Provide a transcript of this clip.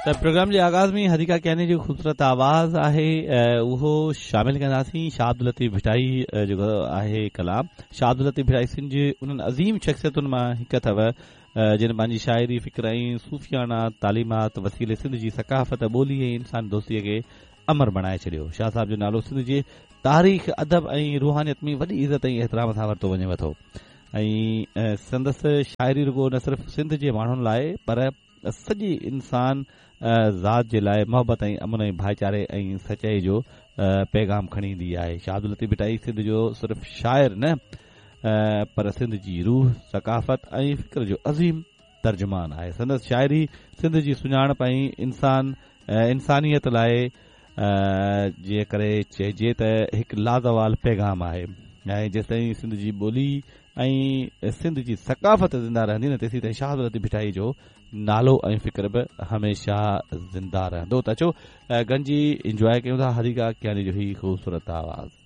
ته پروگرام جي آغاز ۾ حديقه ڪياني جو خوبصورت آواز آهي اهو شامل ڪنداسين. شاهه عبداللطيف ڀٽائي جو آهي ڪلام. شاهه عبداللطيف ڀٽائي سنڌ جي انهن عظيم شخصيتن مان هڪ اٿو جن پنهنجي شاعري، فڪر ۽ صوفياڻا تعليمات وسيلي سنڌ جي ثقافت، ٻولي ۽ انساني دوستي کي امر بڻائي ڇڏيو. شاهه صاحب جو نالو سنڌ جي تاريخ، ادب ۽ روحانيت ۾ وڏي عزت ۽ احترام سان ورتو وڃي ٿو ۽ سندس شاعري رڳو نه صرف سنڌ جي ماڻهن لاء پر سڄي انسان ذات جي لاء محبت ۽ امن ۽ ڀائيچاري ۽ سچائي جو پيغام کڻي ايندي آهي. شاهه عبداللطيف ڀٽائي سنڌ جو صرف شاعر نه پر سنڌ جي روح، ثقافت ۽ فڪر جو عظيم ترجمان آهي. سندس شاعري سنڌ جي سڃاڻپ ۽ انسان انسانيت لاء جي ڪري چئجي ته هڪ لازوال پيغام آهي ۽ جيستائين سنڌ جي ٻولي ۽ سنڌ جي ثقافت زنده رهندي نه تيسين شاهه عبداللطيف ڀٽائي جو نالو ۽ فڪر به هميشه زنده رهندو ته اچو گڏجي انجواء ڪيون ٿا حديقه ڪياني جو هي خوبصورت آواز.